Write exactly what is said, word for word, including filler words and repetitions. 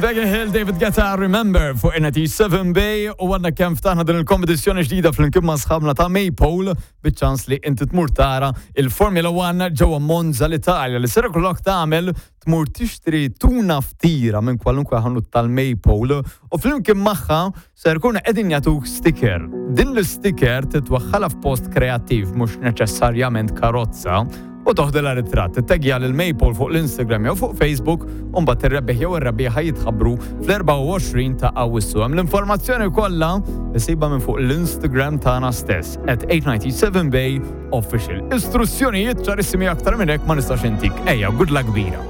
Becky Hill, David Guetta, Remember fuq N T seven Bay, u għadna kemm ftaħna din il-kompetizzjoni ġdida flimkien ma' sħabna ta' Maypole biċ-ċans li inti tmur tara il-Formula One ġewwa Monza, l-Italja. Li ser ikollok tagħmel, tmur tixtri tuna ftira minn kwalunkwe ħanut tal-Maypole u flimkien magħha ser ikunu qegħdin jagħtuk sticker. Din l-sticker titwaħħalha f'post kreattiv, mhux neċessarjament karozza, u toħdilha ritratt. Tagja lil Maypole fuq l-Instagram jew fuq Facebook u mbagħad ir-rebbieħ jew ir-rebbieħa jitħabbru fl-erbgħa u għoxrin ta' Awwissu. Hemm l-informazzjoni kollha issibha minn fuq l-Instagram tagħna stess, at eight ninety-seven Bay Official. Istruzzjonijiet ċarissimi, aktar minn hekk ma nistax intik. Ejja, good luck kbira.